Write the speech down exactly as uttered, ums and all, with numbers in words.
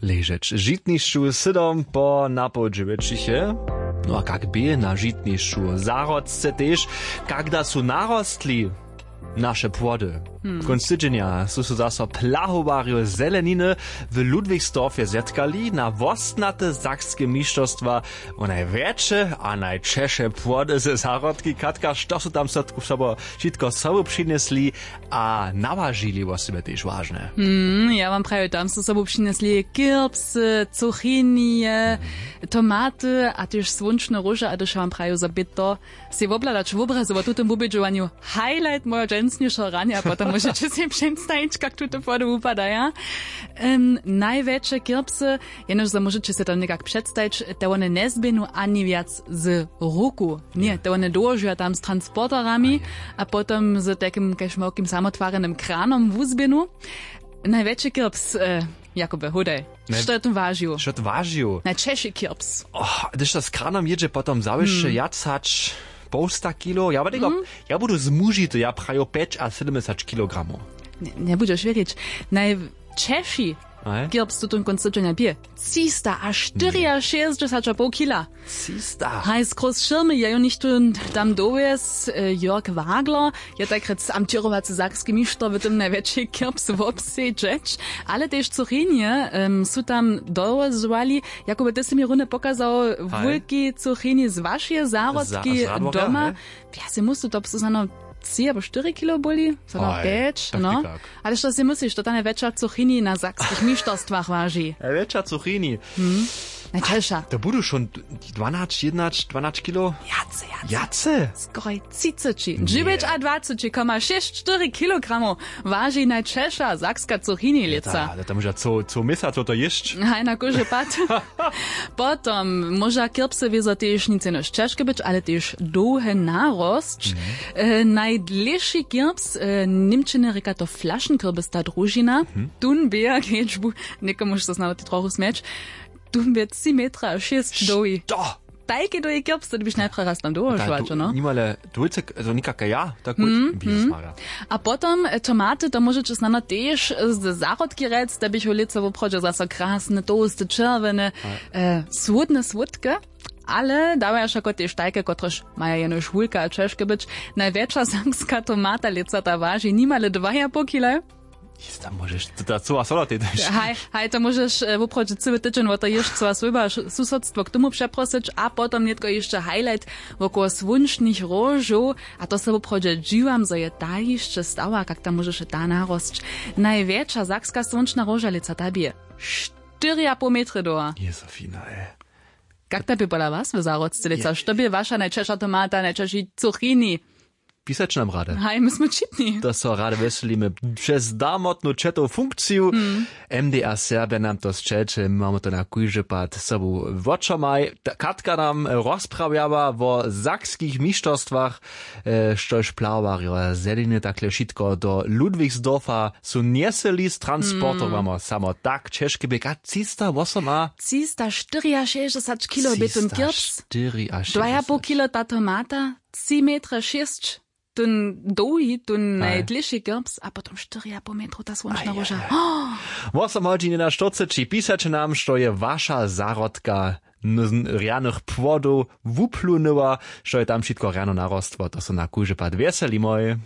Ležeć žitnišću sydom po napoł dźewjećich je. No a kak bě na žitnišću? Zahrodce tež, kak da su narostli naše płody. Kónc tydźenja su so zaso plahowarjo zeleniny w Ludwigsdorfje zetkali na wostnate sakske mišćerstwa wo najwjetše a najćeše płody ze zahrodki. Katka, što su tam so sobo wšitko sobu přinjesli a nawažili, wosebje tež wažne. Hmm, ja wam prawił, tam su sobu přinjesli kirpsy, cuchinije, tomaty a tež słónčne róže. A hdyž ja wam prawił, zo bě to sej wobhladać wobrazy wo tutym wubědźowanju highlight mojeho dźensnišeho ranja, potom móžeće sej předstajić, kak tute płody wupadaja. Em, najwjetše kirpsy, jenož zo móžeće sej to někak předstajić, te wone njezběhnu ani wjac z ruku. Ně, te wone dołožuja tam z transporterami a potom z takim kaž małkim samotwarenym kranom wuzběhnu. Najwjetši kirps, e, Jakube, hudaj. Što je tu wažił? Što tu wažił? Najćeši kirps. Oh, hdyž to z kranom jědźe potom zawiše wjac hač połsta kilo. Ja bydego, ja budu zmužity, ja praju pjeć a sydomdźesać kilogramow. Njebudźeš wěrić. Najćeši kirps tutón kónc tydźenja bě třista a štyriašěsćdźesać a poł kila. Třista. Haj, z króz šěrmy je jo něchtó tam dowjez, e, Jörg Wagler je tajkrjec amtěrowacy sakski mišter w tym najwjetši kirps wobsedźeć. Ale tež cuchinije, em, su tam dowozowali. Jakube, ty sy mi runje pokazał wulki cuchini z wašeje zahrodki doma. Ja se muslu to psu zano tři abo štyri kilo boli, zano pjeć, no. Ale što si mysliš, to ta najwjetša cuchini na sakskich mišterstwach waži? Najwjetša cuchini. Najćeša. To budu šón dwanaće, jednaće, dwanaće kilo. Wjace, wjace. Wjace? Skoraj třiceći. Dźewjećadwaceći koma šěsć štyri kilogramow waži najćeša sakska cuchini lětsa. Ale to móža co, co měsac to jěsć. Haj, na kóždy pad. Potom móža kirpsy wězo tež nic jenož ćežke być, ale tež dołhe narosć. E, najdlěši kirps, e, w němčiny rěka to flašenkirpis, ta družina. Tón bě, kedźbu, někomuž so znano te trochu smjeć, tón bě tři metra a šěsć dołhi. Što? Tajki dołhi kirps, to běš najprjedy raz tam dołožować, no? Nimale dwójce, also někaka ja, tak gut, Jezus Maria. A potom, e, tomaty, to móžeće snano tež, e, z zahrodki rjec, da běchu lětsa woprawdźe zaso krasne, tołste, čerwjene, e, słódne słódke, ale dawaja wšako tež tajke, kotrež maja jenož wulke a ćežke być. Najwjetša sakska tomata lětsa ta waži nimale dwa a poł kila. Jis tam móžeš, to ta cyła sola tej dać. Haj, haj, to móžeš, e, woprawdźe cyły tydźeń wo to jěšćcowa swójba, š-, susodstwo k tomu přeprosyć a potom nětko hišće highlight wokoło słónčnych róžow. A to se woprawdźe dźiwam, zo je ta hišće stała, kak tam móžeše ta narosć. Najwjetša sakska słónčna róža lětsa ta bě štyri a poł metry dołha. Jezofina, ej. Kak ta bě pola was w zahrodce lětsa? Što bě waša najćeša tomata, najćeši cuchini? Pisać nam rady. Haj, my smy čitni. To so rady wjeselimy přez damotnu četow funkciju. M D A Serbja nam to sćelće, my mamy to na kóždy pad sobu wočomaj. Katka nam rozprawjała wo sakskich mišterstwach, e, štož plahowarjo zeleniny takle wšitko do Ludwigsdorfa su njeseli z transportom, samo tak ćežke bě. Třista wosom a třista štyriašěsćdźesat kilo bě tón kirps. Dwa a poł kilo ta tomata, tři metra šěsć, tón dołhi, tón najdlěši kirps a potom štyri a poł metrow ta słónčna róža. Wosom hodźin jedenaštyrceći, pisaće nam, što je waša zahrodka rjanych płodow wuplunyła, što je tam wšitko rjano narostło, to so na kóždy pad wjeselimoj.